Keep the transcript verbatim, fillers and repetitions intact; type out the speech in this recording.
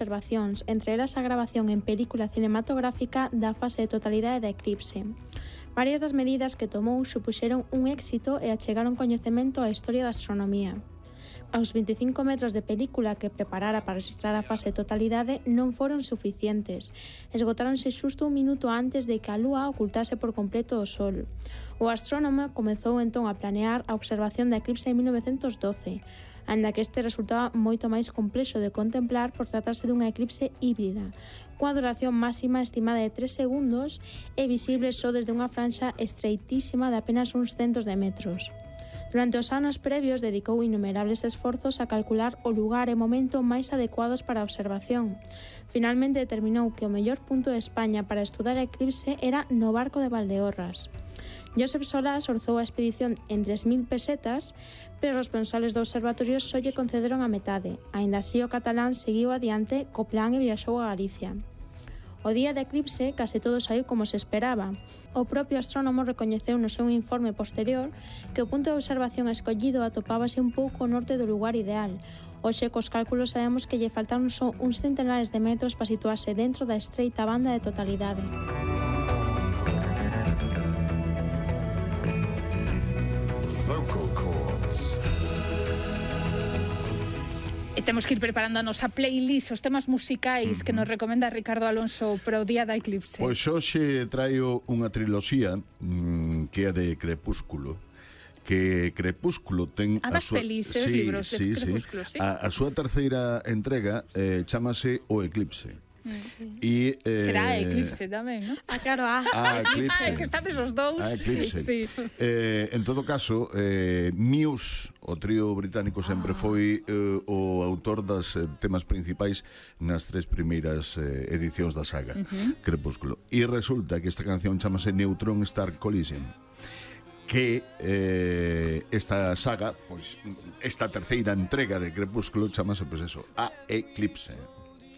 observacións, entre elas a grabación en película cinematográfica da fase de totalidade da eclipse. Varias das medidas que tomou supuxeron un éxito e achegaron coñecemento á historia da astronomía. Aos veinticinco metros de película que preparara para registrar a fase de totalidade non foron suficientes. Esgotáronse xusto un minuto antes de que a Lúa ocultase por completo o Sol. O astrónomo comezou entón a planear a observación da eclipse en mil novecentos doce, aínda que este resultaba moito máis complexo de contemplar por tratarse dunha eclipse híbrida, coa duración máxima estimada de tres segundos e visible só desde unha franxa estreitísima de apenas uns centos de metros. Durante os anos previos dedicou innumerables esforzos a calcular o lugar e momento máis adecuados para a observación. Finalmente determinou que o mellor punto de España para estudar a eclipse era no Barco de Valdeorras. Josep Solás orzou a expedición en tres mil pesetas, pero os responsables do observatorio só lle concederon a metade. Aínda así o catalán seguiu adiante co plan e viaxou a Galicia. O día da eclipse case todo saiu como se esperaba. O propio astrónomo recoñeceu no seu informe posterior que o punto de observación escollido atopábase un pouco ao norte do lugar ideal. Hoxe, cos cálculos, sabemos que lle faltaron só uns centenares de metros para situarse dentro da estreita banda de totalidade. Vocal cords. E temos que ir preparando a nosa playlist, os temas musicais uh-huh. que nos recomenda Ricardo Alonso para o día da eclipse. Pois hoxe traio unha triloxía mmm, que é de Crepúsculo, que Crepúsculo ten a das súa... pelis, sí, libros de sí, Crepúsculo, sí. sí. A, a súa terceira entrega eh, chámase O Eclipse. Sí. E, eh, será a Eclipse tamén, non? Ah, claro, a ah, Eclipse. Que estades os dous. A Eclipse. Sí, sí. Eh, en todo caso, eh, Muse, o trío británico, sempre foi eh, o autor das eh, temas principais nas tres primeiras eh, edicións da saga uh-huh. Crepúsculo. E resulta que esta canción chamase Neutron Star Collision, que eh, esta saga, pois esta terceira entrega de Crepúsculo chamase, pois eso, A Eclipse.